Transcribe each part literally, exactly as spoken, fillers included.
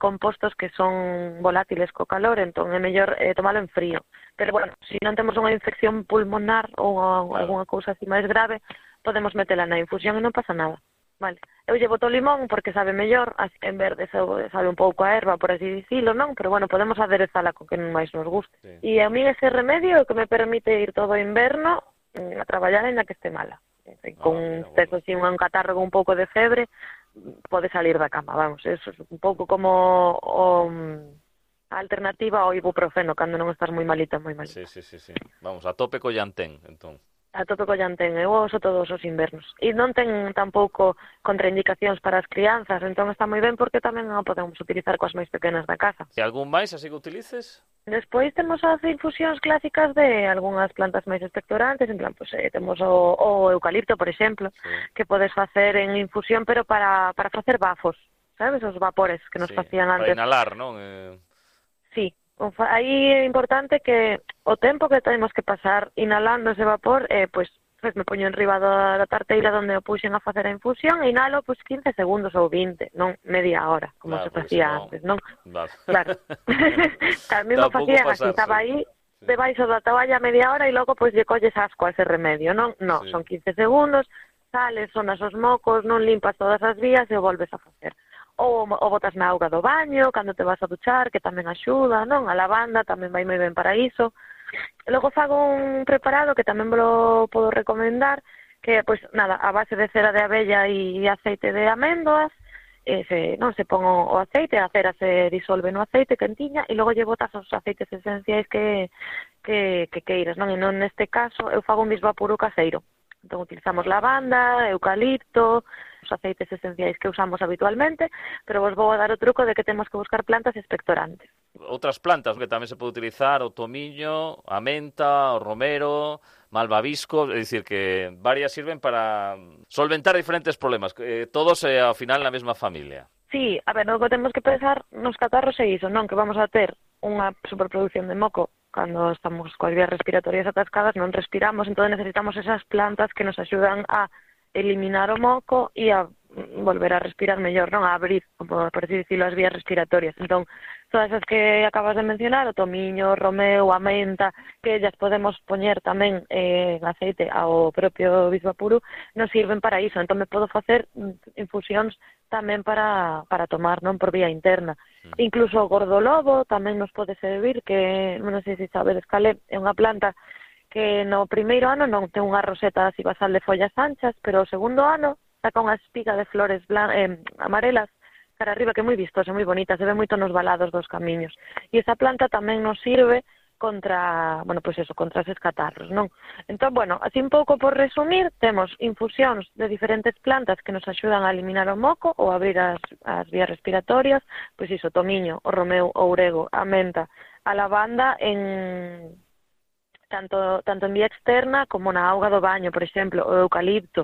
compostos que son volátiles co calor, entón é mellor eh, tomalo en frío. Pero bueno, se non temos unha infección pulmonar ou claro. Alguna cousa así máis grave, podemos metela na infusión e non pasa nada. Vale. Eu lle boto limón porque sabe mellor, así en verde sabe un pouco a erva, por así dicilo, non? Pero bueno, podemos aderezala co que máis nos guste. Sí. E a mí ese remedio é o que me permite ir todo o inverno a traballar en la que esté mala. Con ah, mira, bueno. Si un catarro con un pouco de febre, pode salir da cama, vamos. Eso é un pouco como o, a alternativa ao ibuprofeno, cando non estás moi malita, moi malita. Sí, sí, sí, sí. Vamos, a tope co llantén, entón. A tope co llantén, eu uso todos os invernos. E non ten tampouco contraindicacións para as crianzas, entón está moi ben porque tamén o podemos utilizar coas máis pequenas da casa. E algún máis así que utilices? Despois temos as infusións clásicas de algunhas plantas máis expectorantes, en plan, pues, eh, temos o, o eucalipto, por exemplo, sí. Que podes facer en infusión, pero para, para facer bafos, sabes? Os vapores que nos sí, facían antes. Para inhalar, non? Eh... Sí. Aí é importante que o tempo que temos que pasar inhalando ese vapor, eh, pois, pues, me poño enriba da, da tarteira onde o puxen a facer a infusión e inhalo pois, quince segundos ou vinte, non media hora, como claro, se facía no... antes, non? Vale. Claro. A mí me facían así, estaba aí sí. Debaixo da toalla media hora e logo pois lle colles asco a ese remedio, non? Non, sí. Son quince segundos, sales, sonas os mocos, non limpas todas as vías e o volves a facer. Ou, ou botas na auga do baño, cando te vas a duchar, que tamén axuda, non? A lavanda tamén vai moi ben para iso. E logo fago un preparado que tamén vos podo recomendar, que, pois, nada, a base de cera de abella e aceite de améndoas, e se, non, se pon o aceite, a cera se disolve no aceite quentiña, e logo lle botas os aceites esenciais que, que, que queiras, non? E non neste caso, eu fago un bisvapuru caseiro. Entón, utilizamos lavanda, eucalipto, os aceites esenciais que usamos habitualmente, pero vos vou a dar o truco de que temos que buscar plantas expectorantes. Outras plantas que tamén se pode utilizar, o tomiño, a menta, o romero, malvavisco, é dicir que varias sirven para solventar diferentes problemas, eh, todos eh, ao final na mesma familia. Sí, a ver, o que temos que pensar nos catarros é iso, non? Que vamos a ter unha superproducción de moco cando estamos coas vías respiratorias atascadas, non respiramos, entón necesitamos esas plantas que nos axudan a eliminar o moco e a volver a respirar mellor, non? A abrir, por así dicirlo, as vías respiratorias. Entón, todas as que acabas de mencionar, o tomiño, o romeu, a menta, que ellas podemos poñer tamén eh, en aceite ao propio bisvapuru, nos sirven para iso. Entón, me podo facer infusións tamén para, para tomar, non? Por vía interna. Mm. Incluso o gordolobo tamén nos pode servir, que non sei se sabedes cal é, é unha planta que no primeiro ano non ten unha roseta así basal de follas anchas, pero o segundo ano saca unha espiga de flores blan eh, amarelas cara arriba, que é moi vistosa, moi bonita, se ve moito nos valados dos camiños. E esa planta tamén nos sirve contra, bueno, pois pues eso, contra eses catarros, non? Entón, bueno, así un pouco por resumir, temos infusións de diferentes plantas que nos axudan a eliminar o moco ou abrir as, as vías respiratorias, pois iso, tomiño, o romeu, o orego, a menta, a lavanda en tanto tanto en vía externa como na auga do baño, por exemplo, o eucalipto,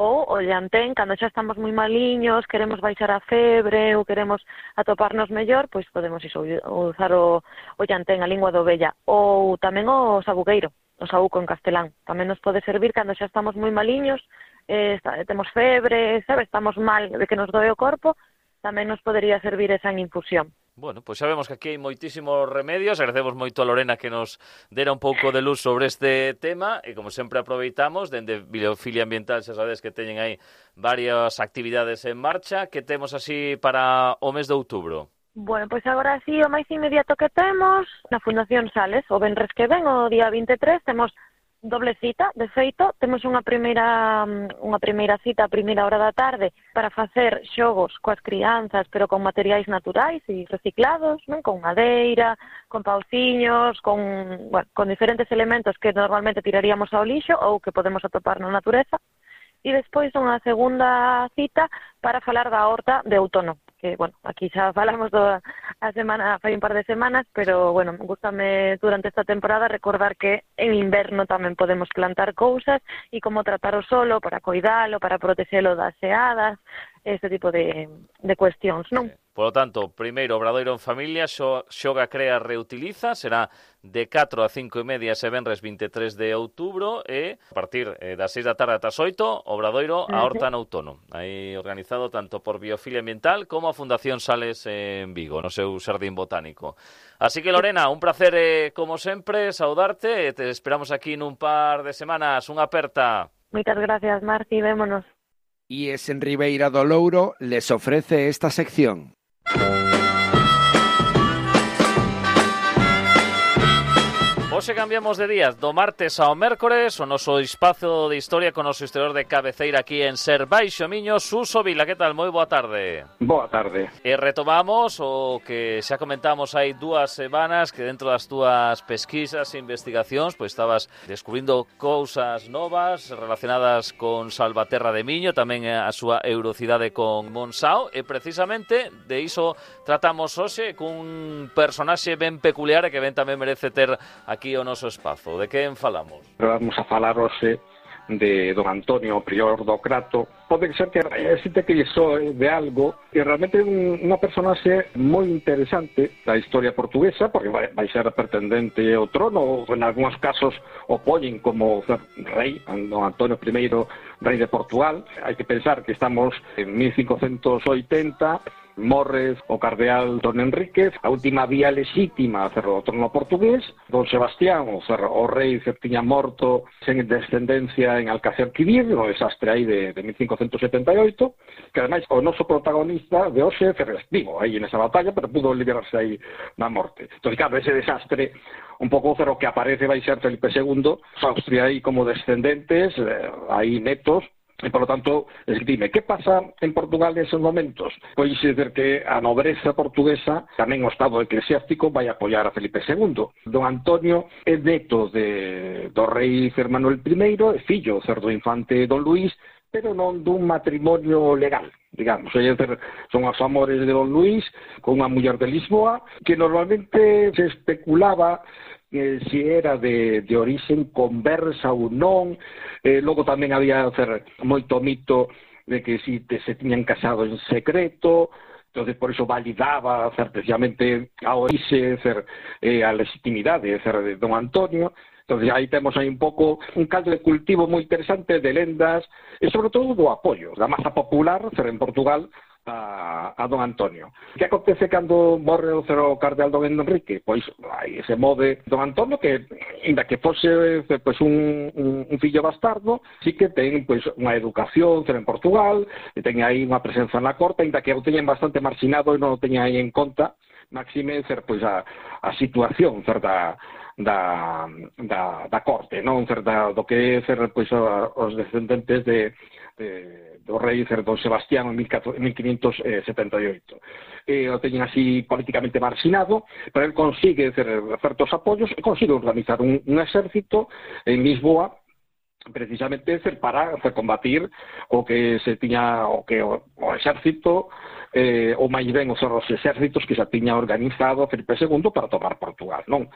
ou o llantén, cando xa estamos moi maliños, queremos baixar a febre ou queremos atoparnos mellor, pois podemos iso, usar o, o llantén, a lingua de ovella, ou tamén o sabugueiro, o saúco en castelán. Tamén nos pode servir cando xa estamos moi maliños, eh, está, temos febre, sabe, estamos mal de que nos doe o corpo, tamén nos podería servir esa en infusión. Bueno, pois sabemos que aquí hai moitísimos remedios, agradecemos moito a Lorena que nos dera un pouco de luz sobre este tema e como sempre aproveitamos, dende Biofilia Ambiental xa sabedes que teñen aí varias actividades en marcha, que temos así para o mes de outubro. Bueno, pois agora sí, o máis inmediato que temos na Fundación Sales, o venres que ven, o día vinte e tres, temos doble cita, de feito, temos unha primeira unha primeira cita a primeira hora da tarde para facer xogos coas crianzas, pero con materiais naturais e reciclados, non? Con madeira, con pauciños, con, bueno, con diferentes elementos que normalmente tiraríamos ao lixo ou que podemos atopar na natureza. E despois unha segunda cita para falar da horta de outono, que, bueno, aquí xa falamos do, a semana, fai un par de semanas, pero, bueno, gústame durante esta temporada recordar que en inverno tamén podemos plantar cousas e como tratar o solo para coidalo, para protexelo das xeadas, este tipo de, de cuestións, non? Por lo tanto, primeiro Obradoiro en familia, xoga, crea, reutiliza, será de catro a cinco e media ese venres vinte e tres de outubro e a partir eh, das seis da tarde ata as oito, Obradoiro a Horta no Outono. Aí organizado tanto por Biofilia Ambiental como a Fundación Sales en Vigo, no seu xardín botánico. Así que, Lorena, un placer, eh, como sempre, saudarte e te esperamos aquí nun par de semanas. Unha aperta. Moitas gracias, Marci, vémonos. Y es en Ribeira do Louro les ofrece esta sección. Hoxe cambiamos de días, do martes ao mércores, o noso espazo de historia con o noso historiador de cabeceira aquí en Ser Baixo Miño, Suso Vila. Que tal? Moi boa tarde. Boa tarde. E retomamos o que xa comentamos hai dúas semanas, que dentro das túas pesquisas e investigacións pois estabas descubrindo cousas novas relacionadas con Salvaterra de Miño, tamén a súa eurocidade con Monsao, e precisamente de iso tratamos hoxe cun personaxe ben peculiar e que ben tamén merece ter aquí o noso espazo. De quen falamos? Vamos a falar hoxe de don Antonio, prior do Crato. Pode ser que existe que iso de algo que realmente é unha personaxe moi interesante da historia portuguesa, porque vai, vai ser pretendente ao trono, ou en algúns casos o poñen como rei, don Antonio primeiro, rei de Portugal. Hai que pensar que estamos en mil cincocentos oitenta, morre o cardeal Don Enríquez, a última vía lexítima cerro o trono portugués. Don Sebastián, o, cerro, o rei que tiña morto sen descendencia en Alcácer-Quibir, no desastre aí de, de mil cincocentos setenta e oito, que ademais o noso protagonista de hoxe estivo aí nesa batalla, pero pudo liberarse aí na morte. Entón, claro, ese desastre un pouco cerro que aparece vai ser Felipe segundo, Austria aí como descendentes, eh, aí netos. E, por lo tanto, dime, que pasa en Portugal neses momentos? Pois dizer que a nobreza portuguesa, tamén o estado eclesiástico, vai apoiar a Felipe segundo. Don Antonio é neto de, do rei Manuel primeiro, é fillo do infante Don Luís, pero non dun matrimonio legal, digamos. É dizer, son os amores de Don Luís con unha muller de Lisboa, que normalmente se especulaba Eh, si era de, de orixen conversa ou non. Eh, logo tamén había hacer, moito mito de que si te, se tiñan casado en secreto, entonces por iso validaba hacer, precisamente a orixe, hacer, eh, a legitimidade hacer, de don Antonio. Entonces aí temos aí un pouco un caldo de cultivo moi interesante de lendas e sobre todo do apoio da masa popular hacer, en Portugal A, a don Antonio. Que acontece cando morre o cero cardeal don Enrique? Pois aí se move don Antonio, que ainda que fose pois, un, un, un fillo bastardo, sí que ten pois, unha educación cero en Portugal, e ten aí unha presenza na corte, ainda que o teñen bastante marxinado e non o teñen aí en conta, máxime ser pois, a, a situación cer, da, da, da, da corte, non cer, da, do que é ser pois, os descendentes de, de do rei Don Sebastián en mil quinientos setenta e oito. Eh, o teñen así políticamente marxinado, pero él consigue hacer certos apoios e consigue organizar un, un exército en Lisboa precisamente para hacer combatir o que se tiña o que o, o exército eh, ou máis ben os, os exércitos que se tiña organizado Felipe segundo para tomar Portugal, non?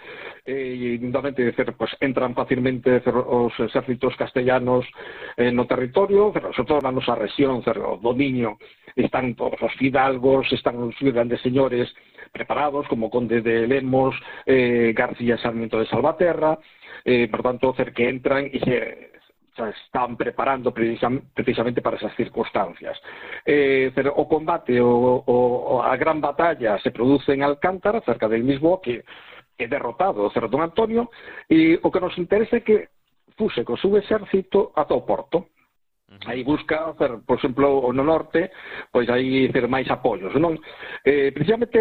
E, indudamente, pues, entran facilmente os exércitos castellanos eh, no territorio, pero sobre todo na nosa rexión, o dominio, están todos os fidalgos, están os grandes señores preparados, como Conde de Lemos, eh, García Sarmiento de Salvaterra, eh, por tanto, cer que entran e se están preparando precisamente para esas circunstancias. Eh, pero o combate, o, o, a gran batalla se produce en Alcántara, cerca del Lisboa, que é derrotado o Cerro Don Antonio, e o que nos interesa é que fuse co seu exército ata o Porto. Aí busca, por exemplo, no norte, pois aí ter máis apoios, non? Eh, precisamente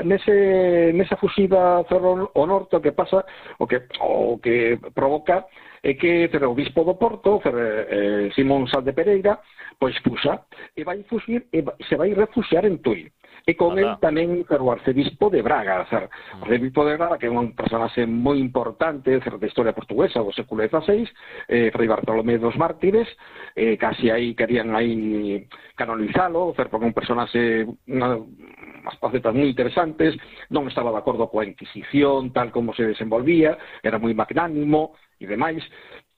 nese, nesa fusiva cerro o norte o que pasa, o que, o que provoca é que o bispo do Porto, eh, Simón Sal de Pereira, pois fusa, e vai fusir, e se vai refuxiar en Tui. E con él tamén o arcebispo de Braga, o arcebispo de Braga, que é un personaxe moi importante da historia portuguesa do século dieciséis, eh, Fray Bartolomé dos Mártires, eh, casi aí querían aí canonizalo, porque é un personaxe, unha, unhas facetas moi interesantes, non estaba de acordo coa Inquisición, tal como se desenvolvía, era moi magnánimo e demais.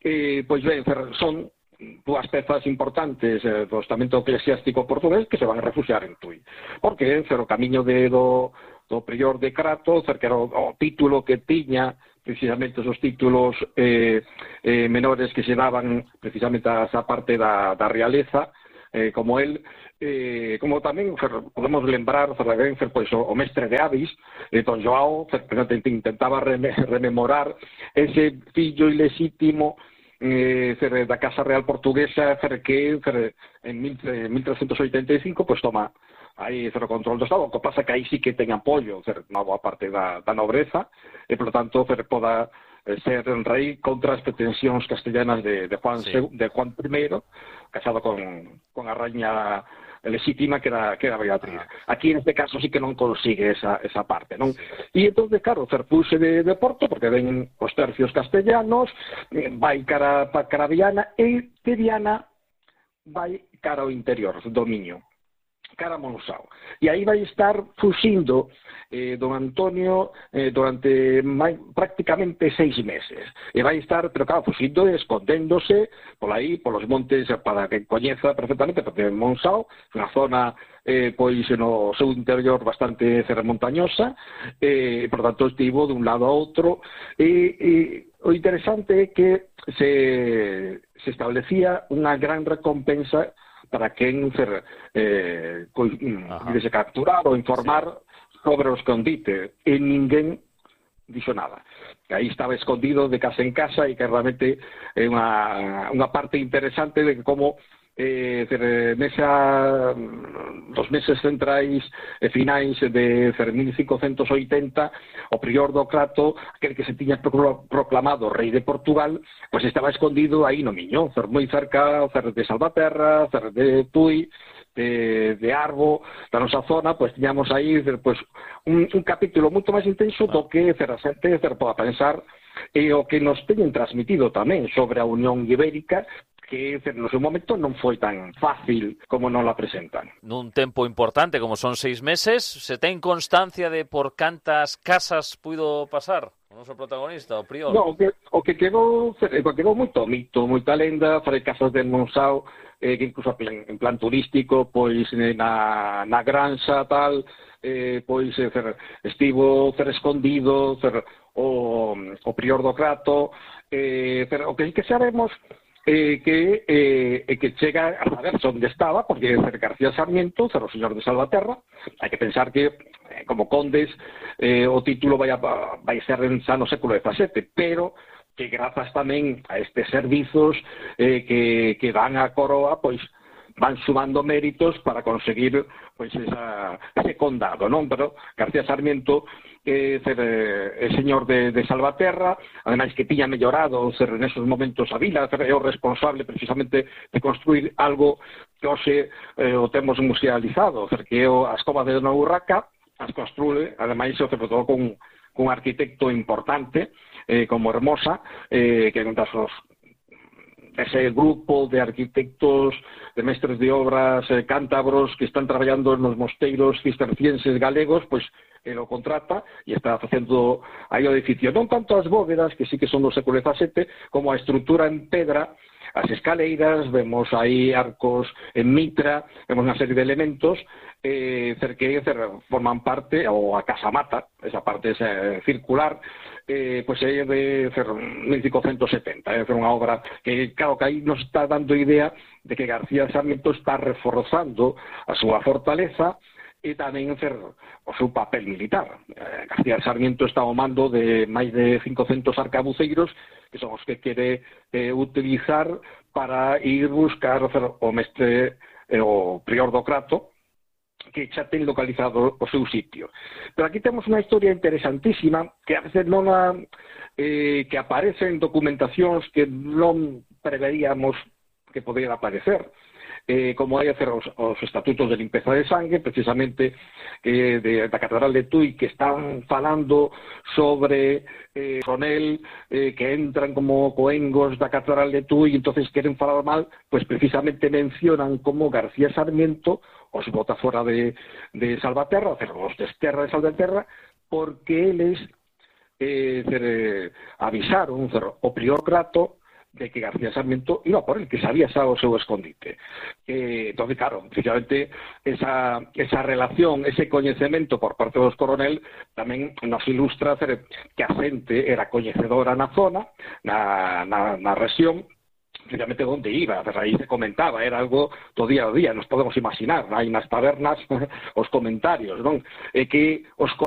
Eh, pois ben, son dúas pezas importantes eh, do estamento eclesiástico portugués que se van a refugiar en Tui. Porque cer, o camiño de, do, do prior de Crato, cer, que era o, o título que tiña precisamente esos títulos eh, eh, menores que se daban precisamente a esa parte da, da realeza, eh, como él, eh, como tamén fer, podemos lembrar fer, fer, pois, o, o mestre de Avis, eh, Don Joao, fer, intentaba reme, rememorar ese fillo ilexítimo Eh, fer, da Casa Real Portuguesa, fer, que fer, en mil trescentos oitenta e cinco pues toma aí fer, o control do Estado, o que pasa que aí sí que ten apoio fer, unha boa parte da, da nobreza e por tanto fer, poda ser rei contra as pretensións castellanas de, de, Juan, sí. de Juan I, casado con, con a raña legítima que era, que era Beatriz. Ah. Aquí en este caso sí que non consigue esa, esa parte, non? Sí. E entón, claro, Ferpuse de, de Porto, porque ven os tercios castellanos, vai cara pa cara Viana, e de Viana vai cara ao interior do Miño, cara a Monsao. E aí vai estar fuxindo eh, don Antonio eh, durante mai, prácticamente seis meses. E vai estar, pero claro, fuxindo e escondéndose por aí, polos montes, para que coñeza perfectamente, porque Monsao é unha zona eh, pois no seu interior bastante montañosa, e eh, por tanto estivo de un lado a outro, e, e o interesante é que se, se establecía unha gran recompensa para quen ser eh, se capturar ou informar sobre o escondite, e ninguén dixo nada. Aí estaba escondido de casa en casa, e que realmente é unha, unha parte interesante de como eh, nesa dos meses centrais e finais de mil cincocentos oitenta o prior do Crato, aquel que se tiña proclamado rei de Portugal, pois estaba escondido aí no Miño, moi cerca de Salvaterra, de Tui, de, de Arbo, da nosa zona, pois tiñamos aí pois, un, un capítulo moito máis intenso do que a xente poda pensar, e o que nos teñen transmitido tamén sobre a Unión Ibérica, que no seu momento non foi tan fácil como non la presentan. Nun tempo importante, como son seis meses, se ten constancia de por cantas casas puido pasar o noso protagonista, o prior? No, o que, o que quedou, o que quedou moito mito, moita lenda, fai casas de Monsao, eh, que incluso en plan turístico, pois na, na granxa tal, eh, pois eh, fer, estivo fer escondido, fer, o, o prior do Crato, eh, fer, o que que sabemos Eh, que, eh, que chega a saber onde estaba, porque García Sarmiento, o señor de Salvaterra, hai que pensar que eh, como condes eh, o título vai, a, vai ser en xa no século dezasete, pero que grazas tamén a estes servizos eh, que, que dan a coroa, pois van sumando méritos para conseguir pois esa, ese condado, non? Pero García Sarmiento que ser eh, señor de, de Salvaterra, ademais que tiña mellorado ser nesos momentos a vila, é o responsable precisamente de construir algo que hoxe eh, o temos musealizado, que é as covas de Dona Urraca, as construe, ademais, sobre todo con, con un arquitecto importante, eh, como Hermosa, eh, que é un dos ese grupo de arquitectos, de mestres de obras eh, cántabros que están traballando nos mosteiros cistercienses galegos, pois eh, lo contrata e está facendo aí o edificio. Non tanto as bóvedas, que sí que son do século dezasete, como a estrutura en pedra, as escaleiras, vemos aí arcos en mitra, vemos unha serie de elementos eh, que forman parte, ou a casamata, esa parte esa, circular, eh, pois é de mil cincocentos setenta, é eh, unha obra que, claro, que aí nos está dando idea de que García Sarmiento está reforzando a súa fortaleza e tamén fer, o seu papel militar. Eh, García Sarmiento está ao mando de máis de cincocentos arcabuceiros, que son os que quere eh, utilizar para ir buscar fer, o mestre, eh, o prior do Crato, que xa ten localizado o seu sitio. Pero aquí temos unha historia interesantísima que a veces non a, eh, que aparece en documentacións que non preveríamos que podrían aparecer. Eh, como hai hacer os, os estatutos de limpeza de sangue, precisamente eh, de, da Catedral de Tui, que están falando sobre eh, Sonel, eh, que entran como coengos da Catedral de Tui, e entonces queren falar mal, pues precisamente mencionan como García Sarmiento os bota fora de, de Salvaterra, o sea, os desterra de Salvaterra, porque eles eh, cer, avisaron cer, o prior Crato de que García Sarmiento iba por el, que sabía xa o seu escondite. Eh, entón, claro, efectivamente, esa, esa relación, ese coñecemento por parte dos coronel tamén nos ilustra que a xente era coñecedora na zona, na, na, na rexión, efectivamente onde iba, de raíz se comentaba, era algo do día a día, nos podemos imaginar, hai nas tabernas os comentarios, non? E que os coroneles